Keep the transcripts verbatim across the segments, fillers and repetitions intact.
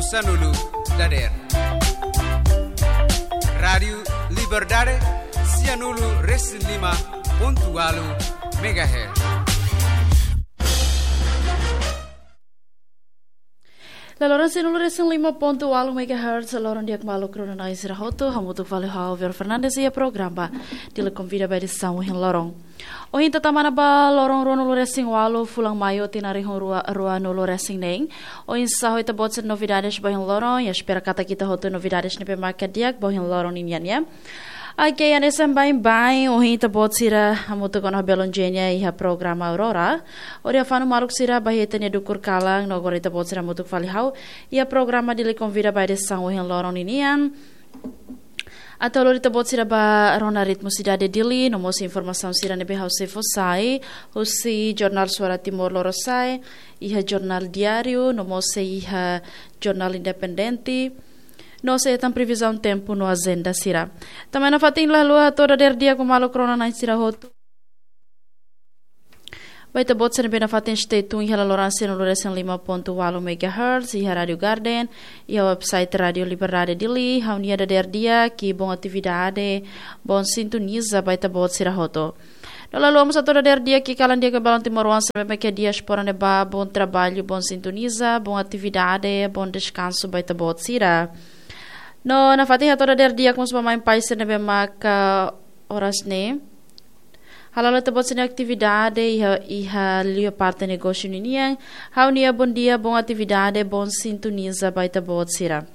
Sanulu dadeer. Rádiu Liberdade, sianulu resin lima pontu walu megahertz. Laloran sianulu resin lima pontu walu megahertz, loron di'ak maluk rona-na'in sira hotu, hamutuk fali ho Vero Fernandes iha programa Dili Konvida ba edisaun ohin loron. Ohin ita tama ona ba loron ruanulu resin walu fulan Maiu tinan rihun rua, ruanulu resin neen. Oinsá ho ita-boot sira novidades ba ohin loron, ita espera katak ita hotu novidades ne'ebé maka di'ak ba ohin loron ninian, ya. Oke, hanesan baibain, ohin ita-boot sira hamutuk ona ho Belon Jenia iha programa Aurora. Hodi hafanu maluk sira ba iha ita-nia dukur kalan, no agora ita-boot sira hamutuk fali ha'u iha programa Dili Konvida ba edisaun ohin loron ninian. Atu halo ita-boot sira ba rona ritmu sidade Dili, no mós informasaun sira ne'ebé ha'u sei fó sai husi Jornál Suara Timor Lorosa'e, iha Jornál Diáriu, no mós iha Jornál Independente, no sei hetan previzaun tempu no ajenda sira. Tanba ne'e nafatin la haluha hato'o dadeer di'ak ba maluk rona-na'in sira hotu. Ba ita-boot sira ne'ebé nafatin stay tune iha laloran sianulu resin lima pontu walu megahertz, iha Rádiu Garden, iha website Rádiu Liberdade Dili, ha'u-nia dadeer di'ak, i bom atividade, bom sintoniza ba ita-boot sira hotu. No la haluha mós hato'o dadeer di'ak, i kalan di'ak ba balun timoroan sira ne'ebé iha diáspora ne'ebá, bom traballu, bom sintoniza, bom atividade, bom deskansu ba ita-boot sira. No nafatin hato'o dadeer di'ak mós ba mãe pai sira ne'ebé maka oras ne'e hala'o ita-boot sira-nia atividade iha, iha liu parte negósiu ninian. Ha'u-nia bom dia, bom atividade, bom sintoniza ba ita-boot sira.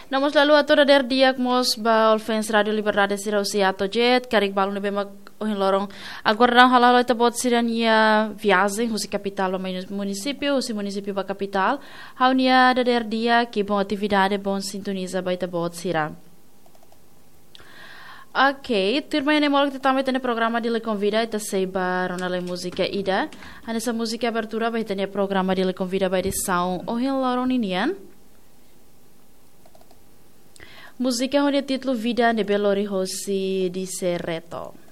No mós la haluha hato'o dadeer di'ak mós ba All Fans Rádiu Liberdade sira husi A to Z, karik balun ne'ebé mak ohin loron aguarda hala'o ita-boot sira-nia viajen husi kapitál ba muni-, munisípiu, husi munisípiu ba kapitál. Ha'u-nia dadeer di'ak, i bom atividade, bom sintoniza ba ita-boot sira. Oke, tuirmai ne'e molok ita tama iha ita-nia programa Dili Konvida, ita sei ba rona lai múzika ida. Hanesan múzika abertura ba ita-nia programa Dili Konvida ba edisaun ohin loron ninian. Múzika ho nia títulu Vida ne'ebé lori hosi Dise Reto.